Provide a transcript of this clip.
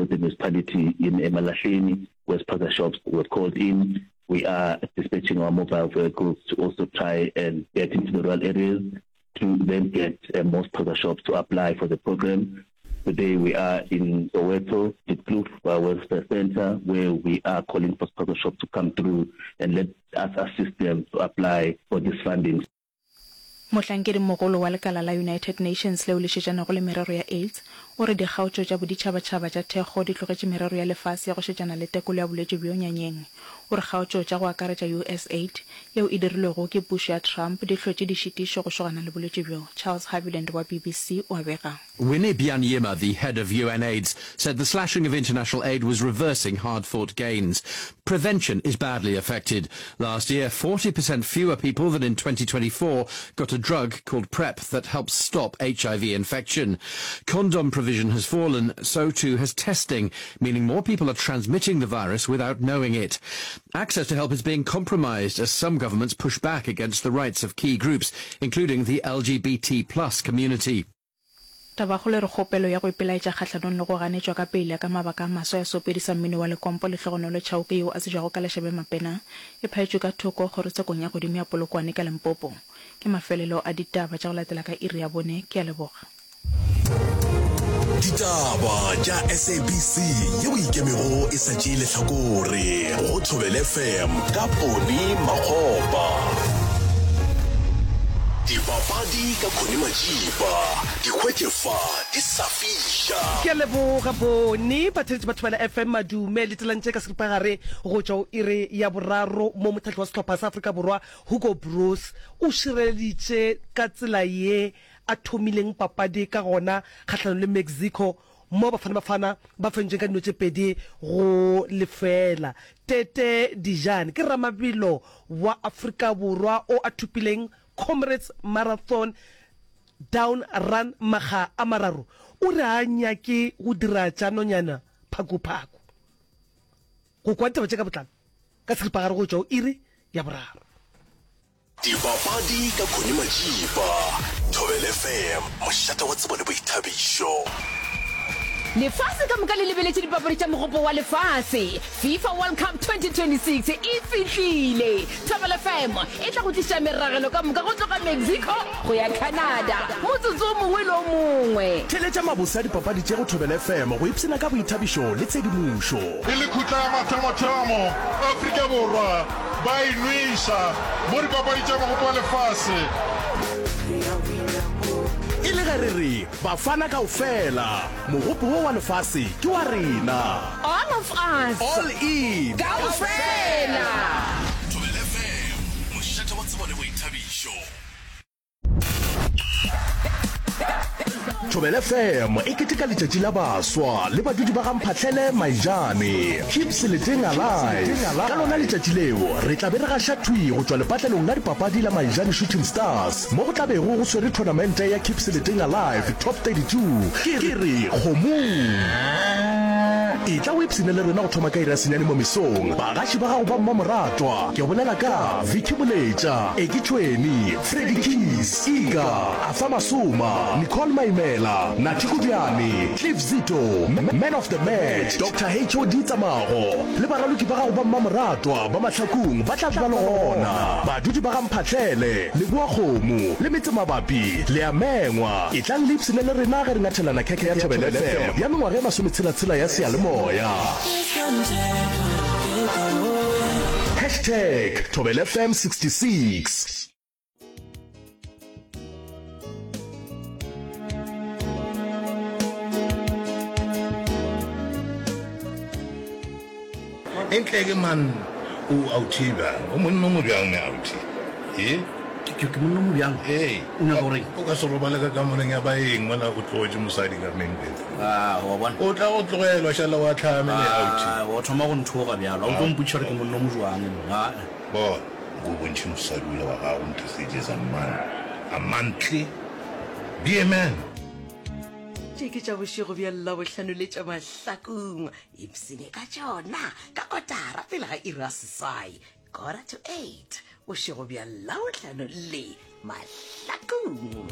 with the municipality in Emalahleni where spaza shops were called in. We are dispatching our mobile vehicles to also try and get into the rural areas to then get uh, more spaza shops to apply for the program. Today we are in Soweto, Diepkloof uh, Welfare Center, where we are calling for spaza shops to come through and let us assist them to apply for this funding. Mohlankedimogolo wa lekala la United Nations leo le šetšanago le merero ya AIDS o re dikgaotšo tša boditšhabatšhaba tša thekgo di tlogetše merero ya lefase ya go šetšana le tekolo ya bolwetši bjo nyanyeng. O re kgaotšo tša go akaretša USAID yeo e dirilwego ke pušo ya Trump di hlotše dišitišo go šogana le bolwetši bjo. Charles Haviland wa BBC o a bega. Winnie Byanyima, the head of UNAIDS, said the slashing of international aid was reversing hard-fought gains. Prevention is badly affected. Last year, 40% fewer people than in 2024 got a drug called PrEP that helps stop HIV infection. Condom provision has fallen, so too has testing, meaning more people are transmitting the virus without knowing it. Access to help is being compromised as some governments push back against the rights of key groups, including the LGBT plus community. Tabakgolo e re kgopelo ya go ipelaetša kgahlanong le go ganetšwa ka peile ka mabaka a maswa ya seopedi sa mmino wa lekompo Lehlogonolo Chauke yeo a tsebjago ka Lešabe Mapena e phaetšwe ka thoko kgorotshekong ya godimo ya Polokwane ka Limpopo. Ke mafelelo a ditaba tša go latela ka iri ya bone. Ke a leboga. Ditaba tša SABC yeo e ikemego e sa tšee lehlakore go Thobela FM ka Poni Makgopa. Dipapadi ka Connie Majiba, di hwetše fa di sa fiša. Ke a leboga Boni. Batheeletši ba Thobela FM madume le tselantše ka seripagare go tšwa go iri ya boraro mo mohlahli wa sehlopha sa Afrika Borwa Hugo Broos o šireleditše ka tsela ye a thomileng papadi ka gona kgahlanong le Mexico mo Bafana Bafana ba fentšweng ka dino tše pedi go lefeela. Tete Dijane ke ramabelo wa Afrika Borwa o a thopileng Comrades Marathon Down Run makga a mararo. O re ga a nyake go dira tša nonyana phakophaku. Go kwa ditaba tše ka botlalo ka seripagare go tšwa go iri ya boraro. Dipapadi ka Connie Majiba, Thobela FM, mošate wa tsebo le boithabišo. Lefase ka moka le lebeletše dipapadi tša Mogopo wa Lefase. FIFA World Cup 2026 e fihlile! Thobela FM e tla go tliša meragelo ka moka go tloga Mexico go ya Canada motsotso o mongwe le o mongwe. Theeletša mabose a dipapadi tše go Thobela FM go ipshina ka boithabišo le tshedimošo. E le khutla ya mathomothomo, Afrika Borwa ba e nweša mo dipapadi tša Mogopo wa Lefase. E le ge re re Bafana kaofela, mogopo wo wa lefase ke wa rena. All of us. All in. Kaofela. Thobela FM, mošate wa tsebo le boithabišo. Thobela FM e keteka letšatši la baswa le badudi ba ga Mphahlele Maijane. Keep Seleteng alive. Ka lona letšatši leo re tla be re gaša thwi go tšwa lepatlelong la dipapadi la Maijane Shooting Stars mo go tla bego go swere thonamente ya Keep Seleteng Alive Top 32. Ke re kgomong. Etla o ipshine le rena go thoma ka iri ya senyane mo mesong. Bagaši ba gago ba mmamoratwa ke bolela ka Vicky Moletša, Eki Tšhweni, Freddie Keys, Ika, Arthur Masoma, Nicole Maimela, Nathi Kubyane, Cliff Zito, Man of the Match, Doctor HOD Tsamago, le baraloki ba gago ba mmamoratwa ba Mahlakung ba tla be ba le gona. Badudi ba ga Mphahlele, Leboakgomo, le metsemabapi, le a mengwa. Etlang le ipshine le rena ge re ngathelana khekhe ya Thobela FM ya mengwaga e masometshela-tshela ya seyalemoya. Hashtag Thobela FM 66. Entle ke man o authi bjang o monna o mo bjang ne authi e Ke ke monna mo bjang ee o nyaka gore o ka se robale ka kamoreng ya baeng mola o tlogetše mosadi ka main bedroom ah wa bona o tla go tlogelwa šala wa tlhame ne authi ah wa thoma go nthoga bjalo o tlo mpotšiša gore ke monna o mo jwang nna bona Nko o bontšhe mosadi ola wa gago ntho se a man a mantle be a man. Tše ke tša bošego bja Labohlano le tša Mahlakong. Ipsene ka tšona ka kotara pele ga iri ya seswai, quarter to eight, bošego bja Labohlano le Mahlakong.